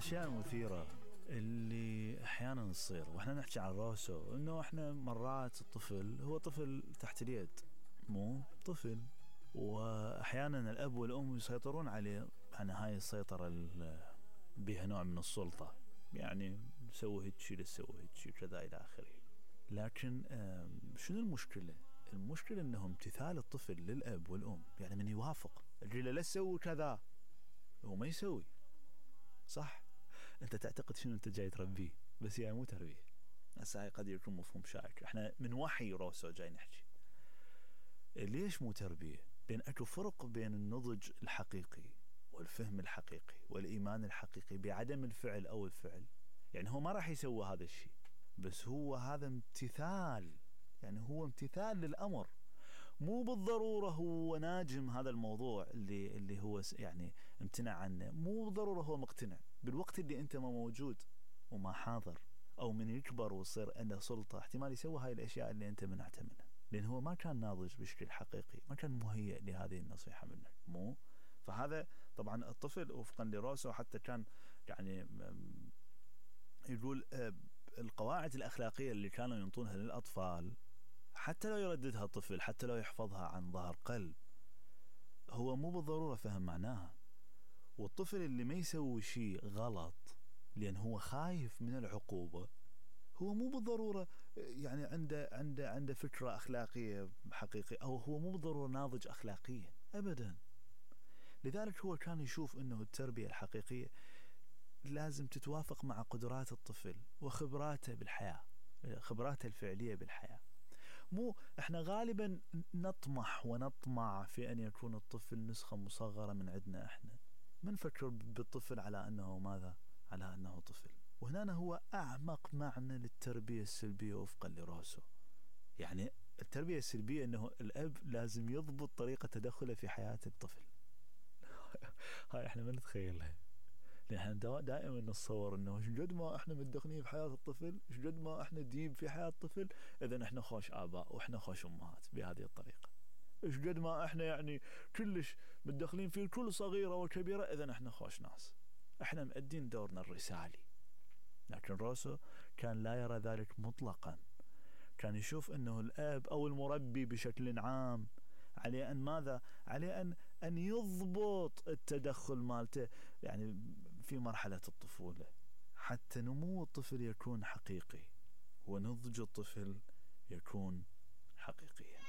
الأشياء المثيرة اللي أحيانا تصير وإحنا نحكي عن روسو، إنه إحنا مرات الطفل هو طفل تحت اليد، مو طفل، وأحيانا الأب والأم يسيطرون عليه. يعني هاي السيطرة بها نوع من السلطة، يعني سوي هيك لسوي هيك كذا إلى آخره. لكن شنو المشكلة؟ المشكلة إنه امتثال الطفل للأب والأم، يعني من يوافق الرجل لا تسوي كذا هو ما يسوي. صح، انت تعتقد شنو انت جاي تربيه، بس هي مو تربيه. هسه هاي قد يكون مفهوم شائك، احنا من وحي روسو جاي نحكي. ليش مو تربيه؟ لان اكو فرق بين النضج الحقيقي والفهم الحقيقي والايمان الحقيقي بعدم الفعل او الفعل. يعني هو ما راح يسوي هذا الشيء، بس هو هذا امتثال، يعني هو امتثال للامر، مو بالضرورة هو ناجم هذا الموضوع اللي هو يعني امتنع عنه، مو بالضرورة هو مقتنع. بالوقت اللي انت ما موجود وما حاضر، او من يكبر ويصير عنده سلطة، احتمال يسوي هاي الاشياء اللي انت منعته منها، لان هو ما كان ناضج بشكل حقيقي، ما كان مهيئ لهذه النصيحة منك. مو فهذا طبعا الطفل وفقا لروسو حتى كان يعني يقول القواعد الأخلاقية اللي كانوا ينطونها للأطفال، حتى لو يرددها الطفل، حتى لو يحفظها عن ظهر قلب، هو مو بالضرورة فهم معناها. والطفل اللي ما يسوي شيء غلط لأن هو خايف من العقوبة، هو مو بالضرورة يعني عنده فكرة أخلاقية حقيقية، أو هو مو بالضرورة ناضج أخلاقيا أبدا. لذلك هو كان يشوف أنه التربية الحقيقية لازم تتوافق مع قدرات الطفل وخبراته بالحياة، خبراته الفعلية بالحياة. مو احنا غالبا نطمح ونطمع في ان يكون الطفل نسخة مصغرة من عندنا، احنا ما نفكر بالطفل على انه ماذا، على انه طفل. وهنا هو اعمق معنى للتربية السلبية وفقا لروسو. يعني التربية السلبية انه الاب لازم يضبط طريقة تدخله في حياة الطفل. هاي احنا ما نتخيلها، لأن دائما نتصور انه شقد ما احنا متدخلين في حياة الطفل، شقد ما احنا ديب في حياة الطفل، اذا احنا خوش اباء واحنا خوش امهات بهذه الطريقة. شقد ما احنا يعني كلش متدخلين في كل صغيرة وكبيرة، اذا احنا خوش ناس، احنا مؤدين دورنا الرسالي. لكن روسو كان لا يرى ذلك مطلقا. كان يشوف انه الاب او المربي بشكل عام عليه أن ماذا؟ عليه أن يضبط التدخل مالته يعني في مرحلة الطفولة، حتى نمو الطفل يكون حقيقي ونضج الطفل يكون حقيقيا.